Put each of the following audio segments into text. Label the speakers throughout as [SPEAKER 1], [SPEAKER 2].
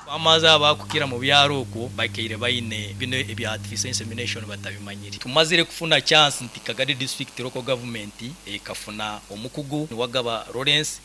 [SPEAKER 1] Farmers abakukira mu byaro okwo baikaire baine bino ebya artificial insemination batabimanyire. Tumazire kufuna chance nti Kagadi district local government ekafuna omukugu Niwagaba Lawrence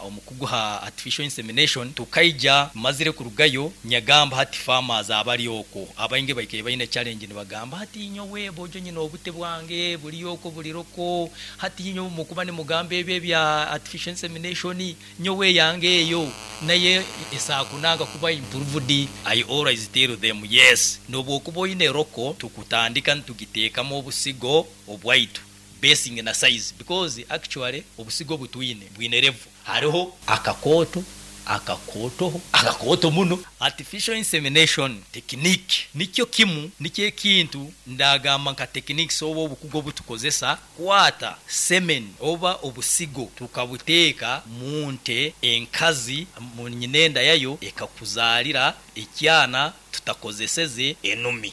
[SPEAKER 1] omukugu ha artificial insemination tukaija tumazire kurugayo nyagamba hati farmers abari okwo abaingi baikaire baine challenge nibagamba hati nyowe bojo nyine obute bwange buri okwo buri local hati nyowe mukuba nimugamba ebyo ebya artificial insemination Nyowe eyange eyo nayo esakunanga kuba improved, I always tell them yes nobwokuba oyine roko tukutandika nitugitekamu obusigo obwaitu basing na size because actually obusigo obutwine bwine level hariho akakooto, akakootoho, akakooto muno. Artificial insemination technique nikyo kimu nikyo ekintu ndagamba nka techniques oba obukugu obutukozesa Kwata semen oba obusigo tukabuteeka mu nte enkazi mu nyinenda yayo ekakuzaalira ekyana tutakozeseze enumi.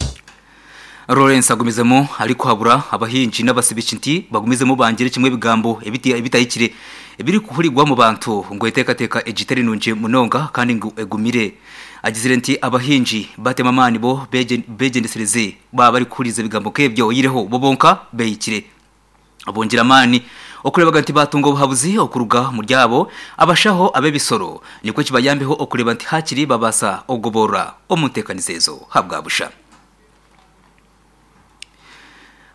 [SPEAKER 2] Lawrence agumizemu arikuhabura abahingi n'abasibiki nti bagumizemu bangire kimwe ebigambo ebitahikire ebirikuhurigwa omu bantu ngu enteekateeka egi teri nungi munonga kandi ngu egumire. Agizire nti abahingi batemu amaani bo begyendesereze Baaba barikuhuriza ebigambo nk'ebyo oihireho bo bonka behikire. Bongyera amaani okureeba nti baatunga obuhabuzi okuruga omuri abo abashaho ab'ebisoro nikwo kibayambeho okureeba nti haakiri babaasa okugoboorora omu nteekaniza ezo habwa busha.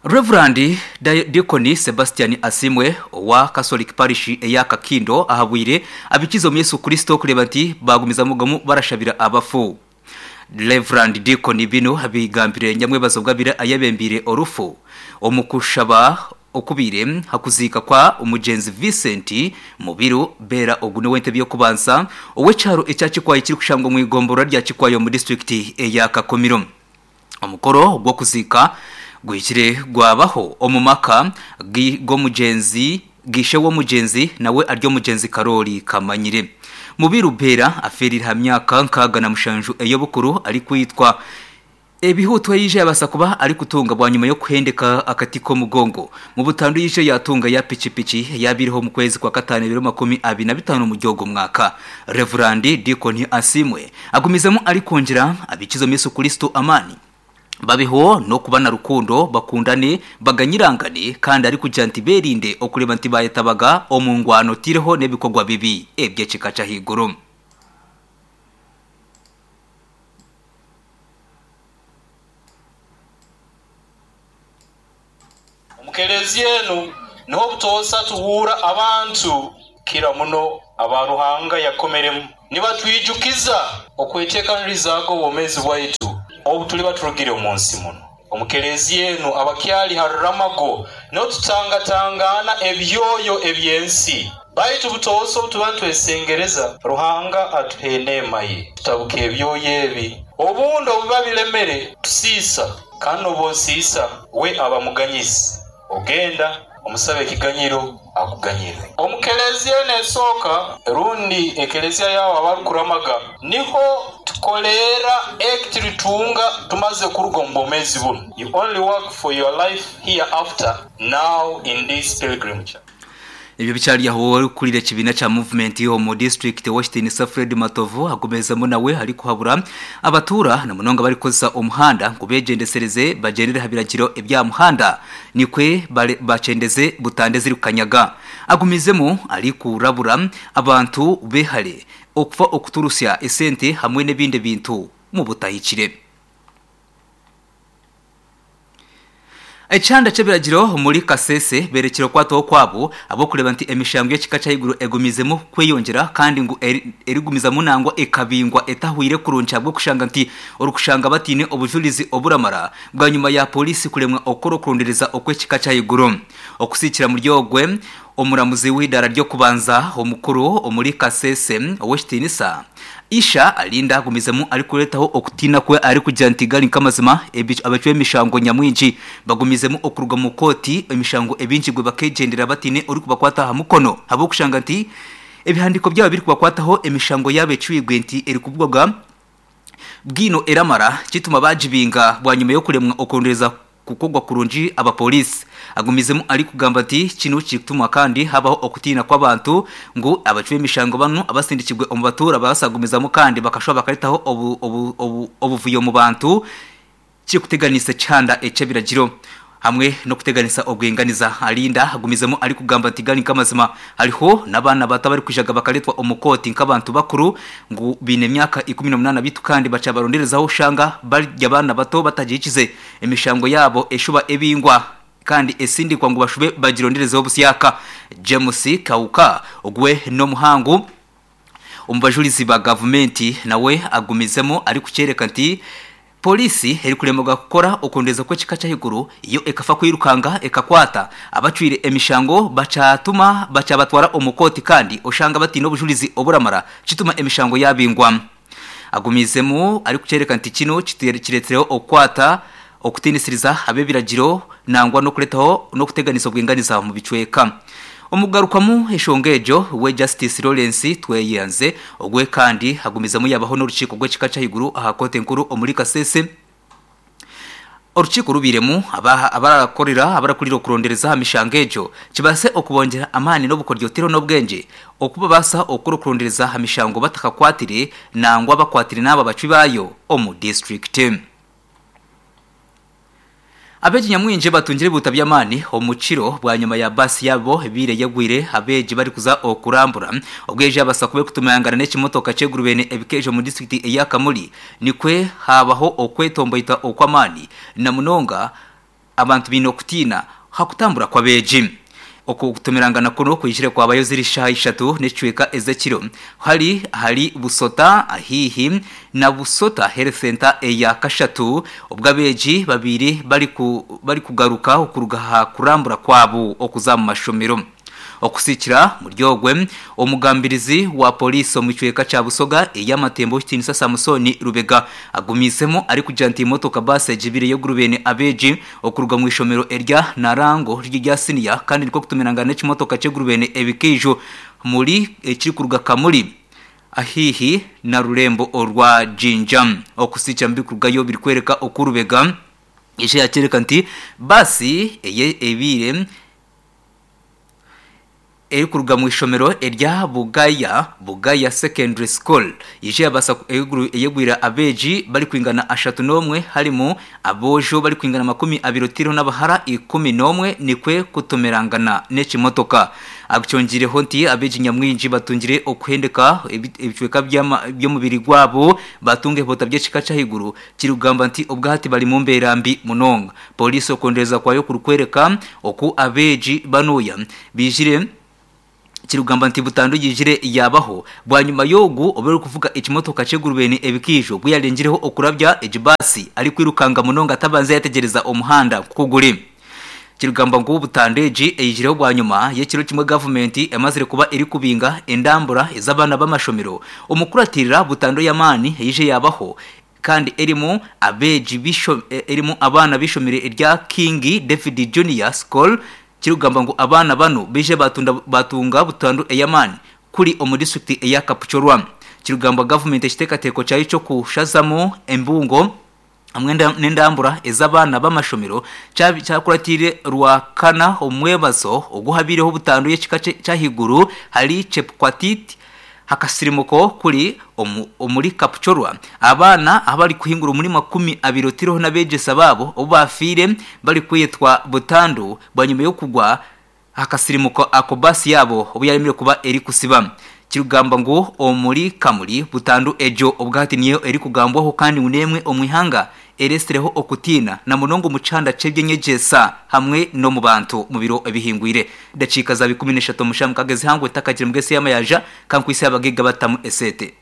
[SPEAKER 2] Rev. Deacon Sebastian Asiimwe owa Catholic Parish eya Kakindo ahabwire abikize omu Yesu Kristo okureeba nti baagumizamu barashabira abafu. Rev. Deacon binu abigambire nyamwebazo obwabire ayebembiire orufu omu kushaba okubaire hakuziika kwa omugyenzi Vincent Mubiru Beera ogu n'owentebe y'okubanza ow'ekyaro ekya Kikwayi ekirikushangwa omu igomborora rya Kikwayi omu disiturikiti eya Kakumiro. Omukoro gw'okuziika guhikire gwabaho omu maka g'omugyenzi g'ishe w'omugyenzi nawe ari omugyenzi Karoli Kamanyire. Mubiru Bera afeereire aha myaka 67 ey'obukuru arikwitwa ebihuutwa yaija yabaasa kuba arikutunga bwanyima y'okuhendeka akati k'omugongo mu butandu yaija yatunga ya pikipiki eyabaireho omu kwezi kwa kataano ebiro 25 omuri ogu mwaka. Revurandi Deacon Asiimwe Agumizemu arikwongyera abikize omu Yesu Kristo amaani, babeho n'okuba na rukundo, bakundane, baganyirangane, kandi arikugira nti berinde okureeba nti bayetabaga omu ngwano oteireho n'ebikorwa bibi eby'ekika ky'ahaiguru.
[SPEAKER 3] Omu kelezia enu niho obutoosa tuhuura abantu kukira muno aba Ruhanga yakomeremu nibatwijukiza okwetekanirizaga obwomezi bwaitu obu tuliba turugire omu nsi muno. Omu kelezia enu abakyali ha ruramago niho tutangatangaana ebyoyo eby'ensi. Baitu butoosa obu tuba nitwesengereza Ruhanga atuha eneema ye tutabuka ebyoyo ebi. Obundi obu biba bilemere tusiisa. Kandi n'obu osiisa, we aba muganyizi. Ogenda, omusaba ekiganyiro, akuganyira. Omu kelezia eno esooka, rundi ekelezia y'abo abarikuramaga, niho tukoreera eki turitunga tumaze kuruga omu bwomeezi bunu. You only work for your life hereafter, now in this pilgrim church.
[SPEAKER 2] Ebyo bikyari aho orikukurira ekibiina kya Movement omu disiturikiti Owekitiinisa Fred Matovu agumiizemu nawe arikuhabura abatuura na munonga abarikukozesa omuhanda ngu begyendesereze bagyendere aha biragiro ebyaha muhanda nikwe bakyendeze butanda ezirikukanyaga. Agumiizemu arikurabura abantu behare okufa okuturusya esente hamwe n'ebindi ebintu mubutahikire. Ekihanda ky'ebiragiro omuri Kasese berekire okukwatwaho kwabo ahabw'okureeba nti emishango y'ekika ky'ahaiguru egumiizemu kweyongyera kandi ngu erigumizamu nangwa ekabingwa etahweire kurungi ahabw'okushanga nti orikushanga bataine obujurizi oburamara bwanyima ya Pooriisi kuremwa okukora okurondereza okw'ekika ky'ahaiguru. Okusiikira muri ogwe omuramuzi w'eidaara ry'okubanza omukuru omuri Kasese Ow'ekitiinisa, Isha Alinda agumizemu arikureetaho okutiina kwe arikugira nti gari nk'amazima abacwi b'emishango nyamwingi bagumizemu okuruga omu kooti emishango ebingirwe bakegyendera bataine orikubakwata aha mukono ahabw'okushanga nti ebihandiiko byabo ebirikubakwataho emishango yaabo ecwirwe nti erikuvugwa bwino eramara kituma baagibinga bwanyima y'okuremwa okurondereza. kukogwa kurungi abapolisi. Agumizemu arikugamba nti kinu kirikutuma kandi habaho okutiina kw'abantu ngu abacwi b'emishango banu abasindikirwe omu batuura babasagumizamu kandi bakashuba bakaretaho obu, obu, obu, obuvuyo omu bantu kirikuteganisa ekihanda eky'ebiragiro hamwe n'okuteganisa obwinganiza. Alinda agumizemu arikugamba nti gari nk'amazima hariho n'abaana bato abarikwijaga bakareetwa omu kooti nk'abantu bakuru ngu baine emyaka 18 beitu kandi bakyabaronderezaho oshanga bari abaana bato batagihikize emishango yaabo eshuba ebingwa kandi esindikwa ngu bashube bagironderezeho busyaka. James Kauka ogwe n'omuhangu omu bajurizi ba gavumenti nawe agumizemu arikukyereka nti polisi erikuremwa kukora okurondeza kw'ekika ky'ahaiguru yo ekafa kwirukanga ekakwata abacwire emishango bakyatuma bakyabatwara omu kooti kandi oshanga bataine obujurizi oburamara kituma emishango yabingwa. Agumizemu arikukyereka nti kinu kiretsireho okukwata okutiinisiriza ab'ebiragiro nangwa n'okuretaho n'okuteganisa obwinganiza omu bicweka. Omukugarukamu eshonga egyo, we Justice Lawrence Tweyanze ogwe kandi agumizamu yabaho n'orukiiko rw'ekika ky'ahaiguru aha kooti enkuru omuri Kasese. Orukiiko rubairemu abarakorera abarakurira okurondereza aha mishango egyo kibaase okubongyera amaani n'obukoryo tihariho n'obwengye okubabaasa okukora okurondereza aha mishango batakakwatire nangwa bakwatire n'abo abacwi baayo omu disiturikiti. Abeegi nyamwingi batungire ebihuta by'amaani omu kiro bwanyima ya baasi yaabo ebaire yagwire abeegi barikuza okurambura obwo eija yabaasa kuba erikutumayangana n'ekimotoka ky'egurubene ebikeejo omu disiturikiti eya Kamuli nikwe haabaho okwetomboita okw'amaani na munonga abantu baine okutiina aha kutambura kw'abeegi. Okutomerangana kunu kwijire kwabayo ziri shaaha ishatu n'ekicweka ez'ekiro hari ahari Busota haihi na Busota Health Centre eya kashatu obwo abeegi babaire barikugaruka okuruga aha kurambura kwabo okuza omu mashomero. Okusikira muri ogwe, omugambirizi wa Poliisi omu kicweka kya Busoga ey'amatemba Owekitiinisa Samusoni Lubega agumiizemu arikugira nti emotoka baasi egibire y'ogurubeene abeegi okuruga omu ishomero erya Narango riri erya siniya kandi nikwo kutumirangana n'ekimotoka ky'egurubeene ebikaijo muri ekirikuruga Kamuli ahaihi na rurembo orwa Jinja. Okusikira mubirikurugayo birikworeka oku Lubega yaija yakyoreka nti baasi eye ebaire erikuruga omu ishomero erya Bugaya, Bugaya Secondary School, yaija yabaasa eyegwire abeegi barikwingana 31 harimu aboojo barikwingana 20 oteireho n'abahara 11 nikwo kutomerangana n'ekimotoka. Akyongiireho nti abeegi nyamwingi batungire okuhendeka ebicweka by'omubiri gwabo batunga ebihoota by'ekika ky'ahaiguru kirikugamba nti obwahati bari mumbeera mbi munonga. Pooriisi okwongyereza kwayo kurikworeka oku abeegi banuya baijire kirikugamba nti butandu yaijire yaabaho bwanyima y'ogu obaire orikuvuga ekimotoka ky'egurubeni ebikaijo obu yarengireho okurabya egi baasi arikwirukanga munonga atabanze yategyereza omuhanda nk'oku guri. Kirikugamba ngu butandu egi eijireho bwanyima y'ekiro kimwe gavumenti emazire kuba erikubinga endambura ez'abaana b'amashomero omukukuratirira butandu ey'amaani eije yaabaho kandi erimu abeegi erimu abaana b'eishomero erya King David Junior School kirikugamba ngu abaana banu baije baatunga butandu ey'amaani kuri omu disiturikiti eya Kapchorwa. Kirikugambwa gavumenti ekiteekateeko kyayo ky'okushazamu embungo hamwe n'endambura ez'abaana b'amashomero kyakuratiire Rwakana omu mwebazo ogu habaireho butandu y'ekika ky'ahaiguru hari Chepkwatit Akasirimuko kuri omuri Kapchorwa, abaana abarikuhingura omuri 20 oteireho n'abeegyesa baabo obu baafiire barikwetwa butandu bwanyima y'okugwa aha kasirimuko ako baasi yaabo obu yaaremire kuba erikusiba. Kirikugambwa ngu omuri Kamuli, butandu egyo obwahati niyo erikugambwaho kandi ngu n'emwe omu ihanga eretsireho okutiina na munonga omu kihanda ky'eby'enyegyesa hamwe n'omu bantu mu biro ebihingwire. Edakiika zaaba 13 omu shaaha mukaaga ezihangwe ntakagire mugesi y'amayanja kankwitse abagaiga batamu esente.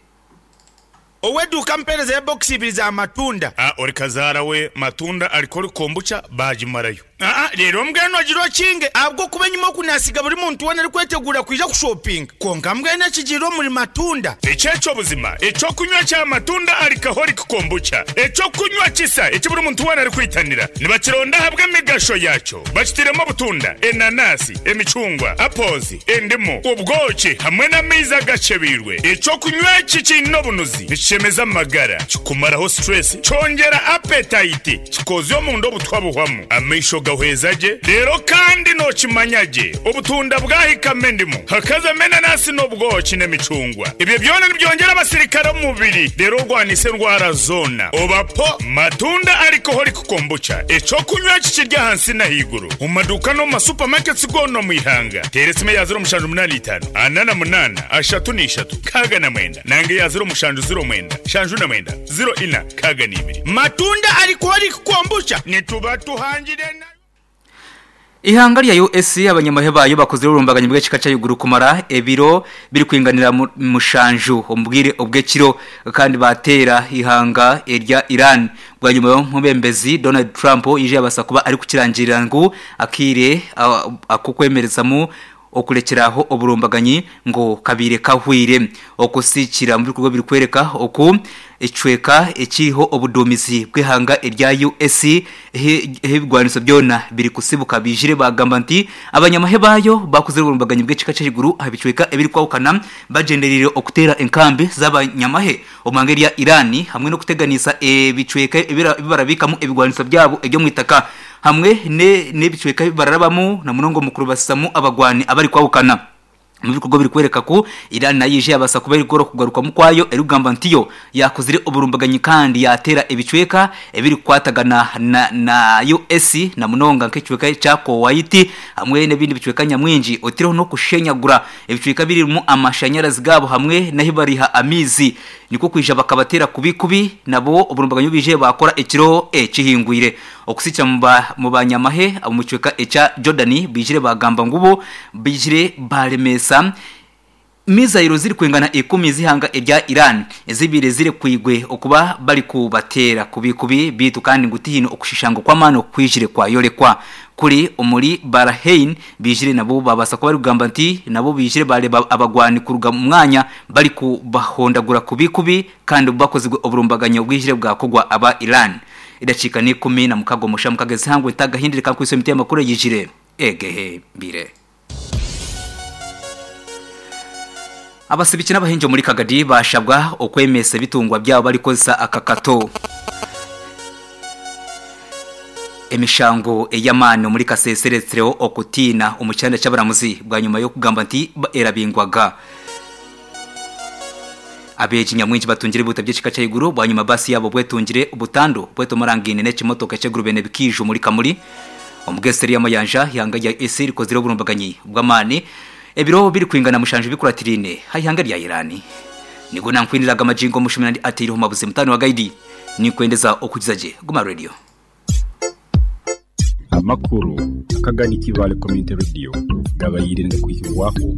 [SPEAKER 4] Ow'eduuka ampeereza ya bokisi ibiri za matunda.
[SPEAKER 5] A Ori kazaara we matunda arikora kombucha baagimarayo.
[SPEAKER 4] Aa, reero mbwenu ogire okinge, ahabw'okuba enyima oku naasiga buri muntu weena arikweteguura kwija kushopinga. Kwonka mbwenu ekigiire omuri matunda.
[SPEAKER 5] Eki eky'obuzima, eky'okunywa kya matunda alcoholic kombucha, eky'okunywa kisa eki buri muntu weena arikwitanira. Nibakironda ahabw'emigasho yaakyo. Bakitairemu obutunda, enanasi, emicungwa, apples, endimu, obwoki hamwe n'amaizi agakyebeirwe. Eky'okunywa eki kiine obunuzi, nikishemeza amagara, kikumaraho stress, kyongyera appetite, Kikoozya omunda obutwa buhwamu, amaisho gahweza gye, reero kandi nookimanya gye obutunda bwahikamu endimu, hakazamu enanasi n'obwoki n'emicungwa. Ebyo byona nibyongyera abasirikare omu mubiri reero orwanise endwara zoona. Oba po Matunda Alcoholic Kombucha, eky'okunywa eki kiri ahansi n'ahaiguru omu maduuka n'omu ma supermarkets goona omu ihanga. Teera esimu eya 0785 48 33 69 nanga eya 0709 79 04 62.
[SPEAKER 4] Matunda Alcoholic Kombucha nituba tuhangire nayo.
[SPEAKER 2] Ihanga rya US abanyamahe baayo bakozire oburumbaganyi bw'ekika ky'ahaiguru kumara ebiro birikwinganira mushanju omu bwire obw'ekiro kandi baateera eihanga erya Iran bwanyima y'omwebembezi Donald Trump yaija yabaasa kuba arikukirangirira ngu akaire ak'okwemerezamu Okurekyera aho oburumbaganyi ngu kabaire kahweire. Okusiikira omu bikorwa ebirikworeka oku ekicweka ekiriho obuduumizi bw'eihanga erya US ahu ebigwaniso byona birikusibuka baijire baagamba nti abanyamahe baayo baakozire oburumbaganyi bw'ekika ky'ahaiguru aha bicweka ebirikwahukana bagyendereire okuteera enkambi z'abanyamahe omu ihanga erya Iran hamwe n'okuteganiisa ebicweka ebi barabiikamu ebigwaniso byabo eby'omu itaka. Hamwe n'ebicweka ebi bararabamu na munonga omu kurubasizamu abagwani abarikwahukana. Omu bikorwa ebirikworeka ku Iran nayo yaija yabaasa kuba erikukora okugarukamu kwayo erikugamba nti yo yaakozire oburumbaganyi kandi yaateera ebicweka ebirikukwatagana na US na munonga nk'ekicweka ekya Kuwait hamwe n'ebindi bicweka nyamwingi otireho n'okushenyagura ebicweka ebirimu amashanyarazi gaabo hamwe n'ahu bariiha amaizi nikwo kwija bakabateera kubi kubi nabo oburumbaganyi obu baijire baakora ekiro ekihingwire. Okusikira mu banyamahe ab'omu kicweka ekya Jordani baijire baagamba ngu bo baijire baaremeesa mizairo zirikwingana ikumi z'eihanga erya Iran ezibaire zirekwirwe okuba barikubateera kubi kubi beitu kandi ngu tihaine okushushango kw'amaani okwijire kwayorekwa kuri omuri Bahrain baijire nabo baabaasa kuba barikugamba nti nabo baijire baareeba abagwani kuruga omu mwanya barikubahondagura kubi kubi kandi bakozirwe oburumbaganyo obwijire bwakorwa aba Iran. Edakiika n'ikumi na mukaga omusha mukaga ezihangwe ntagahindire kankwitse emiti y'amakuru eyijire egehembire. Abasibiki n'abahingi omuri Kagadi baashabwa okwemeesa ebitungwa byabo barikukozesa akakato. Emishango ey'amaani omuri Kasese eretsireho okutiina omu kyanda ky'abaramuzi bwanyima y'okugamba nti erabingwaga. Abeegi nyamwingi batungire ebihuta by'ekika ky'ahaiguru bwanyima baasi yaabo bwetungire butandu bwetomorangaine n'ekimotoka eky'egurube n'ebikiijo omuri Kamuli. Omu gesiteri y'amayanja, eihanga rya US rikozire oburumbaganyi bw'amaani ebiro birikwingana mushanju bikuratiraine aha ihanga rya Iran. Nigo nankwiniraga amagingo omushumi nandi ateireho mabuzi mutaani wa Gaidi. Ninkwendeza okugiza gye. Guma Radio.
[SPEAKER 6] Amakuru akagani Kibaale Community Radio gabaire nigakwihibwaho.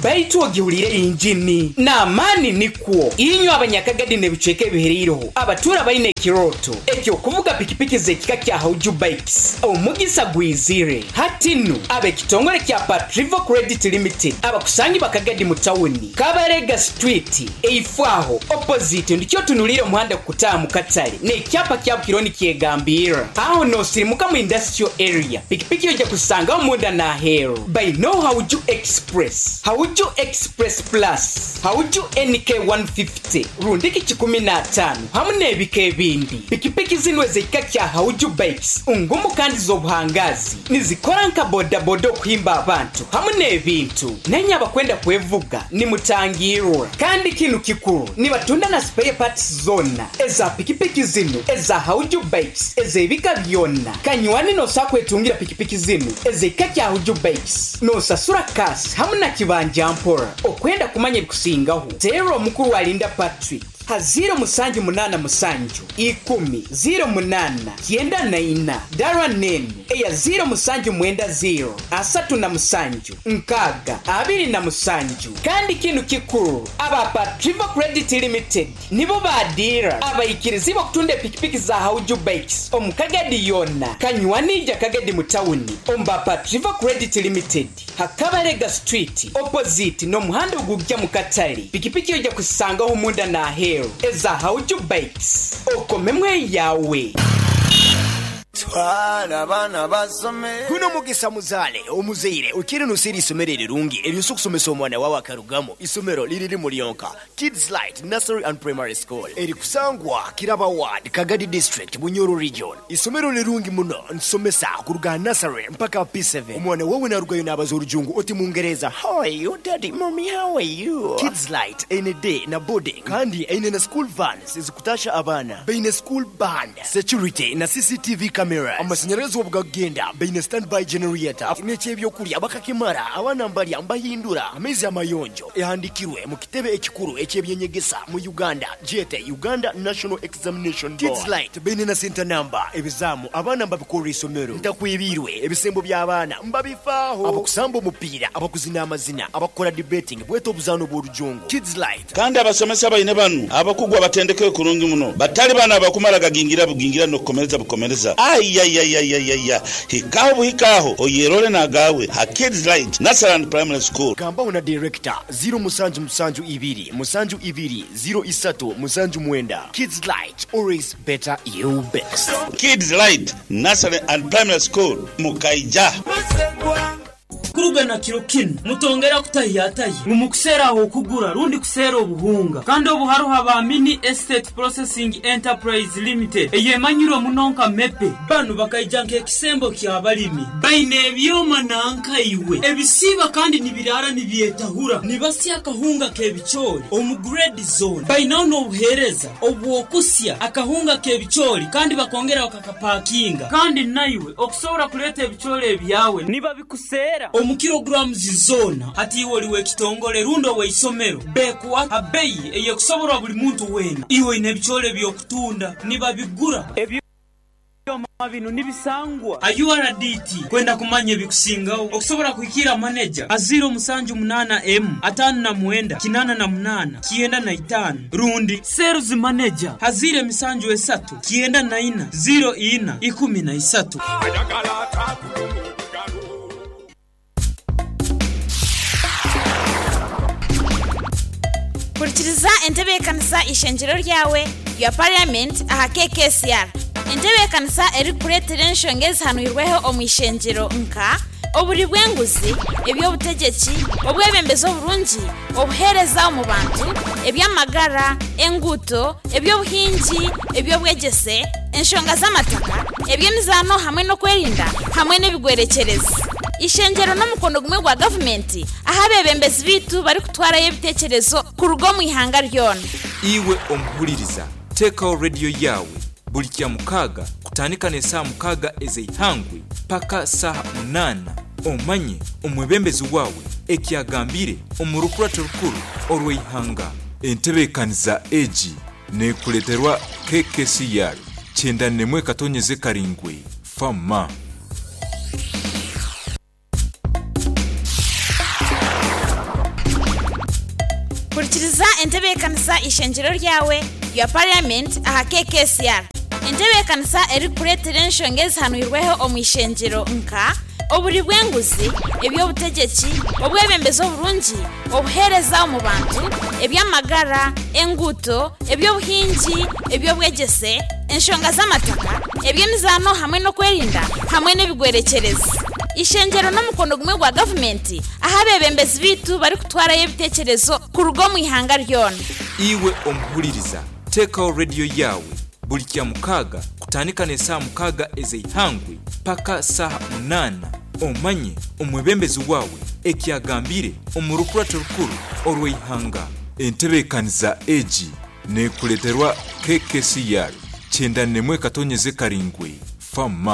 [SPEAKER 7] Baitu ogihuriire engini n'amaani nikwo. Inywe Abanyakagadi n'ebicweka ebihereireho abatuura baine ekirooto eky'okuvuga pikipiki z'ekika kya Hauju Bikes, omugisa gwizire. Hati nu, ab'ekitongore kya Patrivo Credit Limited abakusangibwa Kagadi mu tawuni, Kabarega Street, eifo aho, opposite, ndikyo otunuliire omuhanda kukutaaha mu katale n'ekyapa kya Bukiro nikyegambirra. Aho noosirimuka mu Industrial Area, pikipiki oija kuzisangaho munda n'aheeru. Baineo Hauju Express, Hauju Express Plus, Hauju NK 150 rundiki 150 hamu n'ebika ebindi. Pikipiki zinu ez'ekika kya Hauju Bikes ngumu kandi z'obuhangaazi. Nizikora nka bodaboda okuhimba abantu hamu n'ebintu. Nainye abakwenda kwevuga nimutangirwa. Kandi kinu kikuru, nibatunda na spare parts zoona eza pikipiki zinu eza Hauju Bikes ez'ebika byona. Kanywani nosobola kwetungira pikipiki zinu ez'ekika kya Hauju Bikes nosasura cash hamu na kibanja mpora. Okwenda kumanya ebikusingaho, teera omukuru Alinda Patrick. Ha 0787 10 08 94. Dara n'enu eya 0790 37 6 27. Kandi kinu kikuru, aba Patriva Credit Limited nibo ba diira abaikirizibwa okutunda epikipiki za Hauju Bikes omu Kagadi yoona. Kanywani ija Kagadi mu tawuni omu ba Patriva Credit Limited ha Kabarega Street opposite n'omuhanda ogugya mu katare. Pikipiki oija kuzisangaho omunda n'aheeru eza Hauju Bikes. Okomemu eyaawe.
[SPEAKER 8] Twala abaana basome.
[SPEAKER 9] Guno mugisa muzaale omuzaire okiire noseera eisomero erirungi eryosa okusomesa omwana wawe akarugamu. Isomero liri limu lyonka, Kids Light Nursery and Primary School erikusangwa Kiraba Ward, Kagadi District, Bunyoro Region. Isomero lirungi muno nitusomesa kuruga aha nursery mpaka aha P7. Omwana wawe narugayo nabaza orujungu oti mungereza How are you daddy, mummy how are you? Kids Light eine day na boarding kandi eine na school vans ezikutasha abaana. Baine school band, security na CCTV cameras. Amashanyarazi obu gakugenda baine standby generator n'eky'ebyokurya bakakimara abaana mbarya mbahindura amaizi amayonjo. Ehandikirwe mu kitebe ekikuru eky'ebyenyegesa mu Uganda gyete Uganda National Examination Board. Kids Light baine na center number, ebizaamu abaana mbabikorera isomero. Ntakwebiirwe ebisembo by'abaana mbabifaaho. Abakusamba omupiira, abakuzina amazina, abakukora debating bwete obuzaano bw'orujungu. Kids Light.
[SPEAKER 10] Kandi abasomesa baine banu abakugu abatendekere kurungi muno, batali banu abakumara gagingira bugingira n'okukomereza bukomereza. Aiaiaiaiaia! Hikaho buhika aho oyerole n'agaawe ha Kids Light Nursery and Primary School.
[SPEAKER 9] Gambaho na Director, ziro musanju musanju ibiri musanju ibiri ziro isatu musanju mwenda. Kids Light, always better you best.
[SPEAKER 10] Kids Light Nursery and Primary School, Mukaija.
[SPEAKER 11] Kuruga na kiro kinu, mutongera kutahiyatahya ngu mukuseera ah'okugura rundi kuseera obuhunga. Kandi obu haroho aba Mini Estate Processing Enterprise Limited eyemanyirwe muno nka MEPE. Banu bakaija nk'ekisembo ky'abalimi. Baine ebyoma nanka iwe ebisiiba kandi nibiraara nibyetahura. Nibasya akahunga k'ebicoori omu grade zoona. Bainaho n'obuheereza obw'okusya akahunga k'ebicoori kandi bakongera bakakapakinga. Kandi naiwe okusobora kuleeta ebicoori ebyawe nibabikuseera omu kilograms zoona. Hati iwe oli w'ekitongole rundi ow'eisomero, bekuha ha beyi ey'ekusoborwa buli muntu weena. Iwe oine ebicoori eby'okutunda, nibabigura. Ebyoma binu nibisangwa ha URDT. Kwenda kumanya ebikusingaho, okusobora kuhikiira maneja ha 078 59 88 95 rundi Sales Manager ha 073 94 04 13.
[SPEAKER 12] Hurikiriza entebeekanisa Eishengyero Ryawe rya Parliament aha KKCR. Entebeekanisa erikukureetera enshonga ezihanwirweho omu ishengyero nka, oburi bw'enguzi, eby'obutegyeki, obwebembezi oburungi, obuheereza omu bantu, eby'amagara, enguuto, eby'obuhingi, eby'obwegyese, enshonga z'amataka, eby'emizaano hamwe n'okwerinda hamwe n'ebigwerekyerezi. Eishengyero n'omukono gumwe gwa gavumenti ahu abeebembezi baitu barikutwarayo ebiteekyerezo kuruga omu ihanga ryona.
[SPEAKER 13] Iwe omuhuririza, teekaho rediyo yaawe buri Kyamukaaga kutandika n'esaaha mukaaga ez'eihangwe paka saaha munaana omanye omwebembezi waawe eki agambire omu rukurato rukuru orw'eihanga. Entebeekaniza egi neekureeterwa KKCR kyenda n'emwe katonyeze karingwi FM.
[SPEAKER 12] Hurikiriza entebeekanisa Eishengyero Ryawe rya Parliament aha KKCR. Entebeekanisa erikukureetera enshonga ezihanwirweho omu ishengyero nka, oburi bw'enguzi, eby'obutegyeki, obwebembezi oburungi, obuheereza omu bantu, eby'amagara, enguuto, eby'obuhingi, eby'obwegyese, enshonga z'amataka, eby'emizaano hamwe n'okwerinda hamwe n'ebigwerekyerezi. Eishengyero n'omukono gumwe gwa gavumenti ahu abeebembezi baitu barikutwarayo ebiteekyerezo kuruga omu ihanga ryona.
[SPEAKER 13] Iwe omuhuririza, teekaho rediyo yaawe buri Kyamukaaga kutandika n'esaaha mukaaga ez'eihangwe paka saaha munaana omanye omwebembezi waawe eki agambire omu rukurato rukuru orw'eihanga. Entebeekaniza egi neekureeterwa KKCR kyenda n'emwe katonyeze karingwi FM.